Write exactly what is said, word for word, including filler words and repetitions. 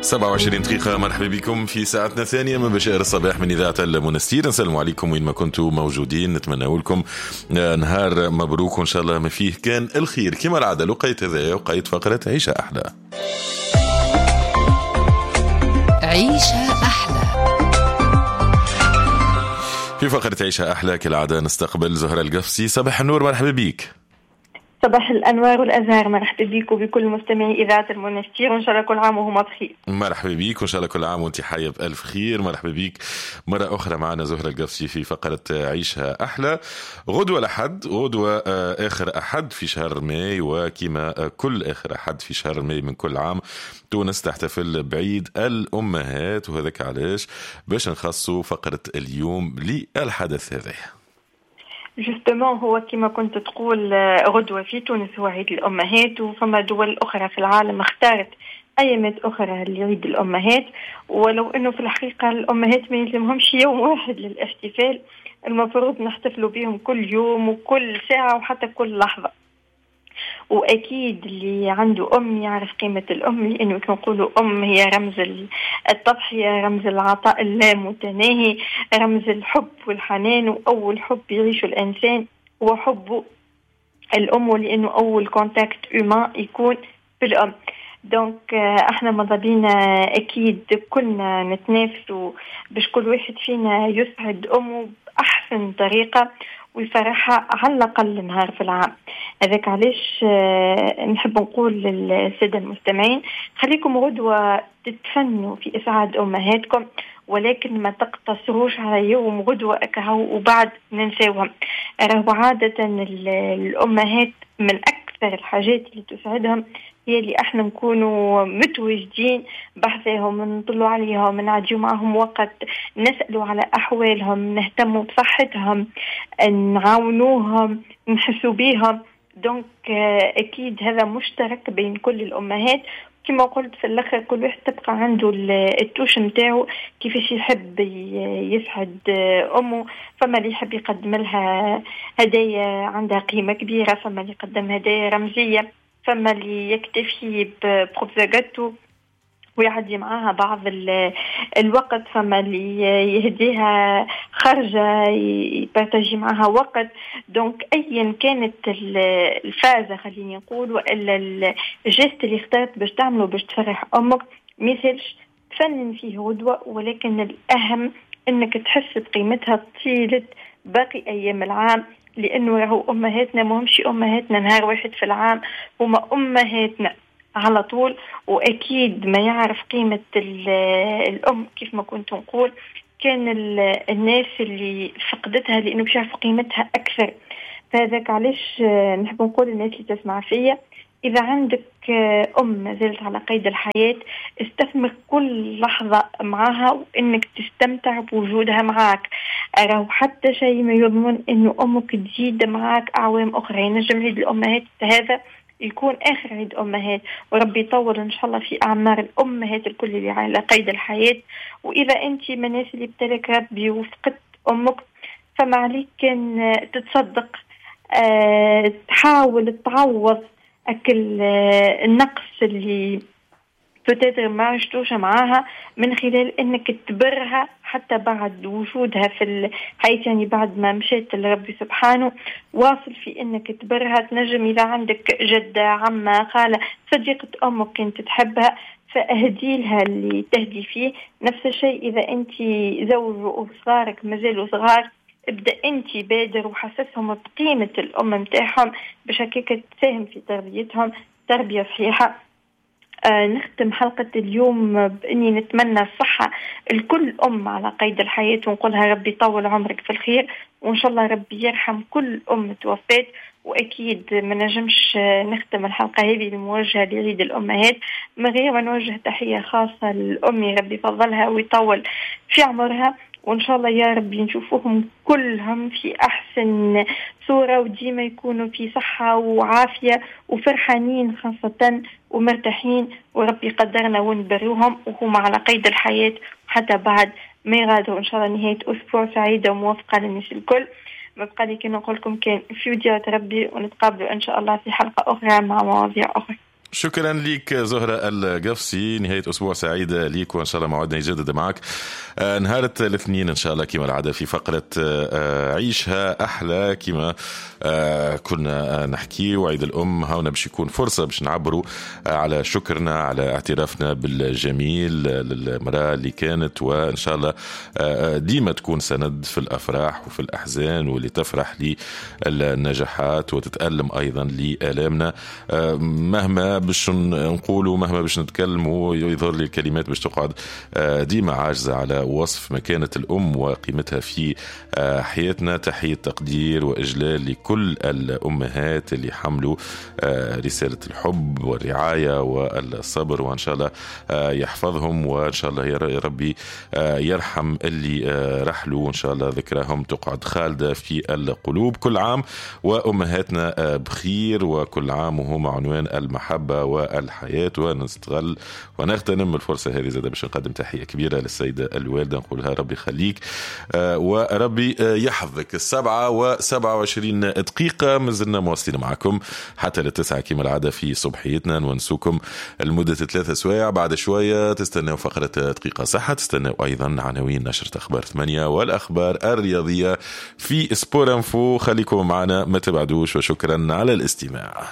سبعة وعشرين دقيقة، مرحبا بكم في ساعتنا الثانية من بشائر الصباح من إذاعة المنستير. نسلم عليكم وين ما كنتم موجودين، نتمنى لكم نهار مبروك وإن شاء الله ما فيه كان الخير. كما العادة لقيت هذا وقيت فقرة عيشة أحلى. عيشة أحلى. في فقرة عيشة أحلى كالعادة نستقبل زهرة القفصي. صباح النور، مرحبا بك. صباح الأنوار والأزهار، مرحبا بك وبكل مستمعي إذاعة المنستير، وإن شاء الله كل عام وهما بخير. مرحبا بك وإن شاء الله كل عام وأنت حية بألف خير. مرحبا بك مرة أخرى معنا زهرة القفصي في فقرة عيشها أحلى. غدوة الأحد، غدوة آخر أحد في شهر ماي، وكما كل آخر أحد في شهر ماي من كل عام تونس تحتفل بعيد الأمهات، وهذاك علاش باش نخصوا فقرة اليوم للحدث هذا. justement هو كما كنت تقول غدوة في تونس هو عيد الأمهات، وفما دول أخرى في العالم اختارت أيامات أخرى لعيد الأمهات، ولو أنه في الحقيقة الأمهات ما يلزمهمش يوم واحد للاحتفال، المفروض نحتفلوا بهم كل يوم وكل ساعة وحتى كل لحظة. وأكيد اللي عنده أم يعرف قيمة الأم، لأنه كنقولوا أم هي رمز التضحية، رمز العطاء اللامتناهي، رمز الحب والحنان، وأول حب يعيشه الإنسان هو حبه الأم، لأنه أول contact humain يكون بالأم. donc احنا ماذا بينا أكيد كلنا نتنافسوا باش كل واحد فينا يسعد أمه بأحسن طريقة ويفرحها على الأقل نهار في العام. هذاك علاش نحب نقول للسادة المستمعين خليكم غدوة تتفنوا في إسعاد أمهاتكم، ولكن ما تقتصروش على يوم غدوة أكهو وبعد ننساوهم. راهو عادة الأمهات من أكثر الحاجات اللي تسعدهم هي اللي احنا نكونوا متواجدين بحثهم، نطلوا عليهم، نعديو معهم وقت، نسألوا على أحوالهم، نهتموا بصحتهم، نعاونوهم، نحسوا بيهم. donc أكيد هذا مشترك بين كل الأمهات. كما قلت في الآخر كل واحد تبقى عنده ال touche متاعو كيفاش يحب يسعد أمه. فما اللي يحب يقدم لها هدايا عندها قيمة كبيرة، فما اللي يقدم هدايا رمزية، فما اللي يكتفي بخبزة جاتو ويعدي معاها بعض الوقت، فما اللي يهديها خرجة يبارتاجي معاها وقت. donc أيا كانت الفازة خليني نقول وإلا ال geste اللي اخترت باش تعمله باش تفرح أمك، مثلش تفنن فيه غدوة، ولكن الأهم أنك تحس بقيمتها طيلة باقي أيام العام، لأنه راهو أمهاتنا ماهمش أمهاتنا نهار واحد في العام، هما أمهاتنا على طول. وأكيد ما يعرف قيمة الأم كيف ما كنت نقول كان الناس اللي فقدتها، لأنه باش يعرفوا قيمتها أكثر. فهذاك علاش نحب نقول للناس اللي تسمع فيا، إذا عندك أم ما زالت على قيد الحياة استثمر كل لحظة معها وإنك تستمتع بوجودها معاك. راهو حتى شيء ما يضمن إنه أمك تزيد معاك أعوام أخرى. ينجم عيد الأمهات هذا يكون آخر عيد أمهات، وربي يطول إن شاء الله في أعمار الأمهات الكل اللي على قيد الحياة. وإذا أنت من الناس اللي ابتلك ربي وفقدت أمك، فما عليك كان تتصدق، أه تحاول تعوض أكل النقص اللي peut-être ما عشتوش معاها من خلال انك تبرها حتى بعد وجودها في الحياة، يعني بعد ما مشيت لربي سبحانه واصل في انك تبرها. تنجم اذا عندك جدة، عمة، خالة، صديقة امك كنت تحبها فاهدي لها اللي تهدي فيه. نفس الشيء اذا انت زوج وصغارك مازالوا صغار، ابدأ انت بادر وحسسهم بقيمة الام متاعهم باش هكاك تساهم في تربيتهم تربية صحيحة. آه نختم حلقة اليوم بإني نتمنى الصحة لكل أم على قيد الحياة، ونقولها ربي يطول عمرك في الخير، وإن شاء الله ربي يرحم كل أم توفات. وأكيد ما نجمش نختم الحلقة هذه الموجهة لعيد الأمهات من غير ما نوجه تحية خاصة لأمي، ربي يفضلها ويطول في عمرها، وإن شاء الله يا ربي نشوفوهم كلهم في أحسن صورة وديما يكونوا في صحة وعافية وفرحانين خاصة ومرتاحين، وربي يقدرنا ونبروهم وهم على قيد الحياة حتى بعد ما يغادروا. إن شاء الله نهاية أسبوع سعيدة وموفقة للناس الكل. ما بقى لي كي نقول لكم كان في وديعة ربي، ونتقابلوا إن شاء الله في حلقة أخرى مع مواضيع أخرى. شكرا لك زهرة القفصي، نهاية أسبوع سعيدة ليك، وإن شاء الله موعدنا يجدد معك آه، نهار الاثنين إن شاء الله كما العادة في فقرة آه، عيشها أحلى. كما آه، كنا نحكي وعيد الأم هاونا باش يكون فرصة باش نعبروا على شكرنا، على اعترافنا بالجميل للمرأة اللي كانت، وإن شاء الله ديما تكون سند في الأفراح وفي الأحزان، واللي تفرح للنجاحات وتتألم أيضا لآلامنا. مهما باش نقولوا، مهما باش نتكلموا، يظهر لي الكلمات باش تقعد ديما عاجزة على وصف مكانة الأم وقيمتها في حياتنا. تحية تقدير وإجلال لكل الأمهات اللي حملوا رسالة الحب والرعاية والصبر، وإن شاء الله يحفظهم، وإن شاء الله يا ربي يرحم اللي رحلوا، وإن شاء الله ذكرهم تقعد خالدة في القلوب. كل عام وأمهاتنا بخير، وكل عام وهم عنوان المحبة والحياة. ونستغل ونغتنم الفرصة هذه زادة باش نقدم تحية كبيرة للسيدة الوالدة، نقولها ربي يخليك وربي يحفظك. السبعة وسبعة وعشرين دقيقة مازلنا مواصلين معكم حتى للتسعة كما العادة في صبحيتنا، نونسوكم لمدة ثلاثة سوايع. بعد شوية تستناو فقرة دقيقة صحة، تستناو أيضا عناوين نشرة أخبار ثمانية والأخبار الرياضية في Sport Info. خليكم معنا ما تبعدوش، وشكرا على الاستماع.